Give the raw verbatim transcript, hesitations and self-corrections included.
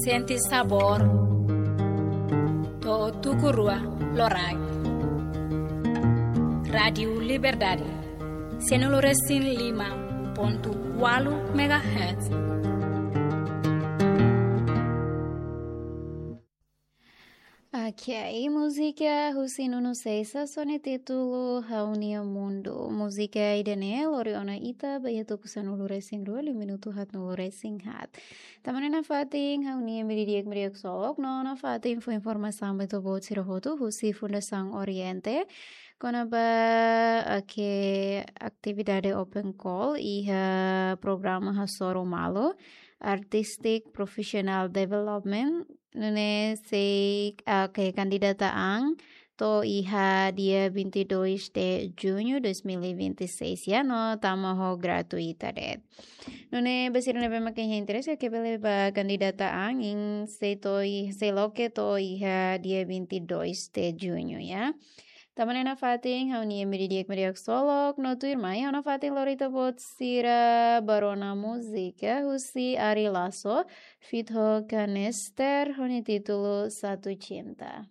Sente sabór. To'o tuku rua loraik. Rádiu Liberdade. Sianulu resin lima pontu ualu megahertz. Ok, múzika husi Nuno Seisa ho nia títulu Ha'u-nia Mundu. Múzika ida-ne'e lori ona ita ba iha tuku sanulu resin rua, liu minutu haatnulu resin haat. Tanba ne'e nafatin ha'u-nia media di'ak, media ksolok, no nafatin fó informasaun ba ita-boot sira hotu husi Fundasaun Oriente kona-ba, ok, atividade open call iha programa hasoru malu, Artistic Professional Development, nune'e sei, ah, ok, kandidata an to'o iha dia vinte e dois de junho dois mil e vinte e seis, ya, no tama ho gratuita de'it. Nune'e ba sira ne'ebé mak iha interese, ke bele ba kandidata an, nia sei to'o i-, sei loke to'o iha dia vinte e dois de junho, ya. Tanba ne'e nafatin ha'u-nia media di'ak, media ksolok, no tuirmai ha'u nafatin lori ita-boot sira ba rona múzika husi Ari Lasso, feat ho Kanester, ho nia títulu Satu Cinta.